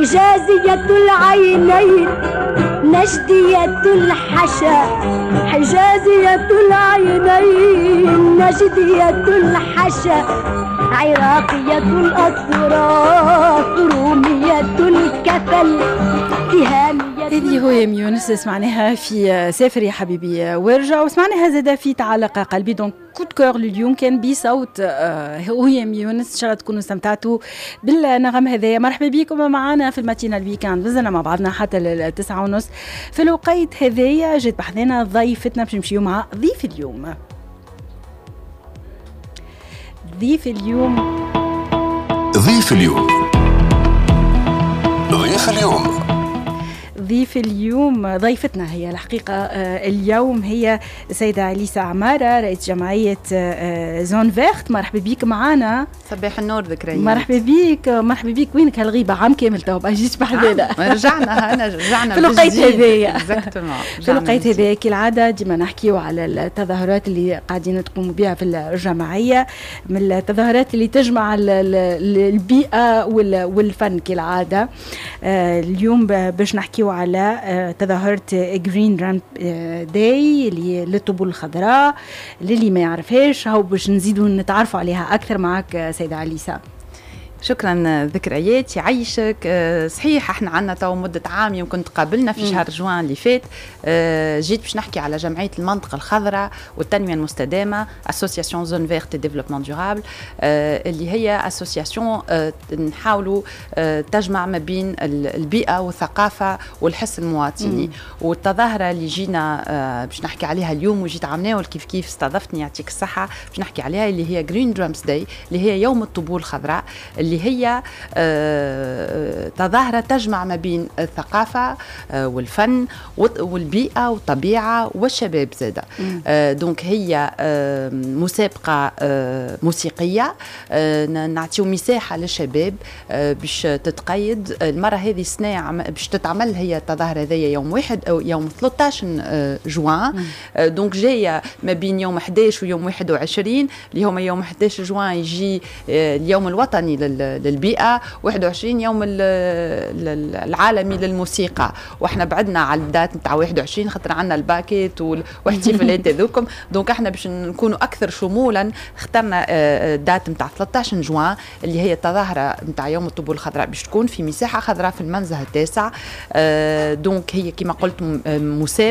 حجازية العينين نجدية الحشا، حجازية العينين نجدية الحشا، عراقية الأطراف رومية الكفل تهامية. هذه هيام يونس، سمعناها في سافر يا حبيبي وارجع، وسمعناها زادة في تعلق قلبي. donc coup de cœur لليوم كان بصوت هيام يونس. ان شاء الله تكونوا استمتعتوا بالنغم هذايا. مرحبا بكم معنا في ال matinale week-end، مازلنا مع بعضنا حتى 9:30. في الوقيت هذايا جات بحذانا ضيفتنا، باش نمشيو مع ضيف اليوم. ضيف اليوم، ضيف اليوم، ضيف اليوم، ضيف اليوم، ضيفتنا هي الحقيقة اليوم هي السيدة أليسا عمارة، رئيس جمعية Zone Verte. مرحبا بك معنا. صباح النور ذكريات. مرحبا بك، مرحبا بك. وينك هالغيبة؟ عام كامل تو ما جيتش بحذانا. رجعنا، انا رجعنا. في الوقيت هذايا، في الوقيت هذايا كالعادة ديما نحكيو على التظاهرات اللي قاعدين تقوموا بها في الجمعية، من التظاهرات اللي تجمع البيئة والفن كالعادة. اليوم باش نحكيو على تظاهرة Green Drum Day اللي للطبول الخضراء. للي ما يعرفهاش، هو باش نزيدوا نتعرفوا عليها أكثر معك سيدة عليسة. شكرا ذكريات، يعيشك. صحيح، احنا عندنا تو مدة عام يمكن تقابلنا في شهر جوان اللي فات. جيت باش نحكي على جمعية المنطقة الخضراء والتنمية المستدامة، association Zone Verte développement durable، اللي هي association نحاولوا تجمع ما بين البيئة والثقافة والحس المواطني. والتظاهرة اللي جينا باش نحكي عليها اليوم، وجيت عملناه كيف كيف، استضفتني يعطيك الصحة باش نحكي عليها، اللي هي Green Drums Day، اللي هي يوم الطبول الخضراء، اللي هي تظاهرة تجمع ما بين الثقافة والفن والبيئة والطبيعة والشباب زادة. donc هي مسابقة موسيقية، نعطيو مساحة للشباب باش تتقيد. المرة هذه السنة باش تتعمل هي التظاهرة هذيا يوم 1 أو يوم 13 جوان، donc جاية ما بين يوم 11 ويوم 21، اللي هما يوم 11 جوان يجي اليوم الوطني للبيئة، 21 يوم العالمي للموسيقى. واحنا بعدنا على ال date نتاع 21 خاطر عندنا الباكيت واحتفالات هذوكم، donc احنا باش نكونوا اكثر شمولا اخترنا ال date نتاع 13 جوان، اللي هي التظاهرة نتاع يوم الطبول الخضراء، باش تكون في مساحة خضراء في المنزه التاسع. donc هي كما قلت مسابقة.